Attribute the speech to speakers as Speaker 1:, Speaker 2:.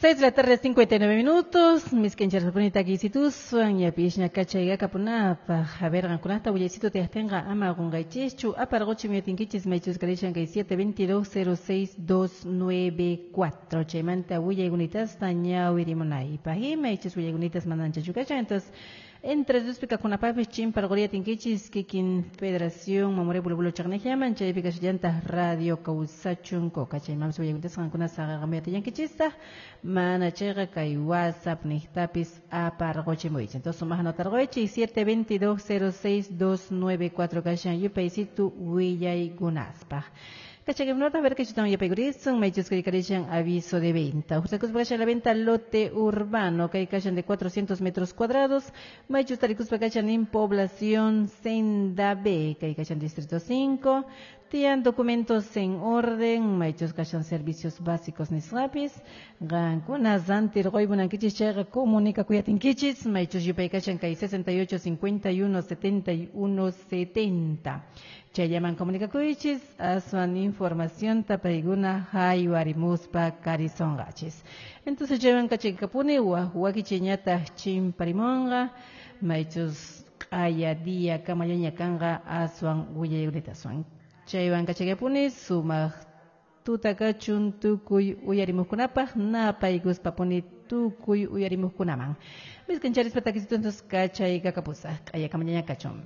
Speaker 1: 6 de la tarde, 59 minutos. Miskenchaspuni takisituswan yapishña kachayqa kapunapaq. A ver, qankunata willaysitu tiyaqtinqa ama qunqaychischu. Aparquchi miyatinkichis maychus karishan kay 722-06294. Chaymanta willaykunitasta ñawirimunaypaq. Y maychus willaykunitas mananchachu kachan. Entonces, entre dos pikakunapaqpis chimparquriyatinkichis kikin Federación Mamoré Bulu Chaqniqllaman chaypi kashallantaq Radio Kawsachun Coca. Chaymanpis willaykunitasta qankuna saqaqamuyatillankichistaj. Mana chayqa kay WhatsApp niqtapis aparquchimuychis. Entonces, sumaq anotarquychis 722-06294 kashan yupaysitu willaykunaspaq. Kachakimnota, a ver que chutan yapaykuritsun, maychus kay aviso de venta. Uqtakuspa kashan la venta lote urbano, kay kashan de 400 metros cuadrados, maychus tarikuspa kashan en población Senda B, kay kashan distrito 5, tiyan documentos en orden, maychus kashan servicios básicos nisqapis, qankuna rantirquymunankichis chayqa comunicakuyatinkichis, maychus yupay kashan kay 68 51 71 70. Chayllaman comunicakuychis, aswan información tapaykuna haywarimuspa karisonqachis. Entonces chaywan kachaykapuni wak wakichayñataq chimparimunqa, maychus q'aya día kamallaña kanqa aswan willaykunataswan. Chaywan kachaykapuni sumaq tuta kachun tukuy uyarimuqkunapaq napaykuspapuni tukuy uyarimuqkunaman. Miskancharispa takisitu entonces kachaykakapusaq q'aya kamallaña kachun.